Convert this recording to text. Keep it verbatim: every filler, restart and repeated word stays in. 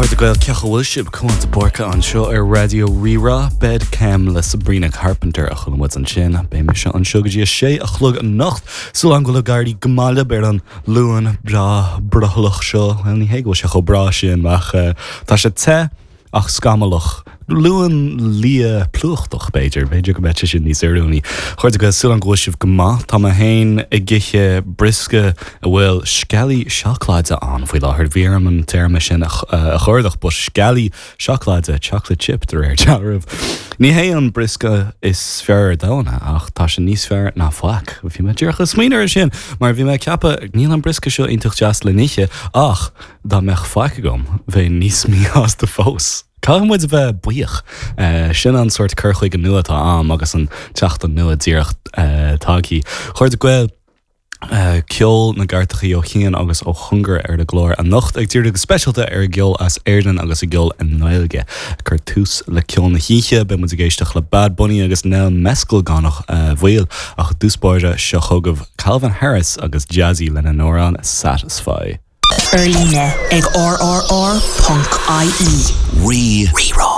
Chairde Gael cén chaoi a bhfuil sibh Cuan de Búrca anseo ar Raidió Rí-Rá Bed Chem le Sabrina Carpenter a chuala muid ansin beidh mise anseo go dtí a sé a chlog anocht Súil agam go bhfuil ag éirí go maith libh ar an Luan breá brothallach seo well ní hé go bhfuil sé chomh breá sin ach uh, tá sé te ach scamallach. Luan liath plúchtach b'fhéidir, b'fhéidir go mbeadh sé sin níos oiriúnaí. Chairde Gael súil agam go bhfuil sibh go maith Tá mé féin ag ithe briosca a bhfuil sceallaí seacláide ann faoi láthair bhí orm an téarma sin a chuardach but sceallaí seacláide chocolate chip de réir dealraimh. Ní hé an briosca is fearr domhan ach tá sé níos fearr ná faic. Bhí mé díreach ag smaoineamh air sin, mar bhí mé ag ceapadh níl an briosca seo iontach deas le n-ithe ach dá mbeadh faic agam bheinn níos míshásta fós. Caithfidh muid a bheith buíoch uh, sin an sórt cur chuige nua atá agam agus an tseachtain nua díreach uh, tagtha. Chairde Gael Uh, ceol na gcairteacha ó chian agus ó chóngar ar an gclár anocht ag díriú go speisialta ar gceol as Éirinn agus i gceol i nGaeilge. Cur tús le ceol na hoíche beidh muid ag éisteacht le Bad Bunny agus Nell Mescal gan uh, mhoill ach dtús báire seo chugaibh Calvin Harris agus Jazzy lena n-amhrán Satisfy. Ar líne ag rrr.ie. Rí Rí-Rá.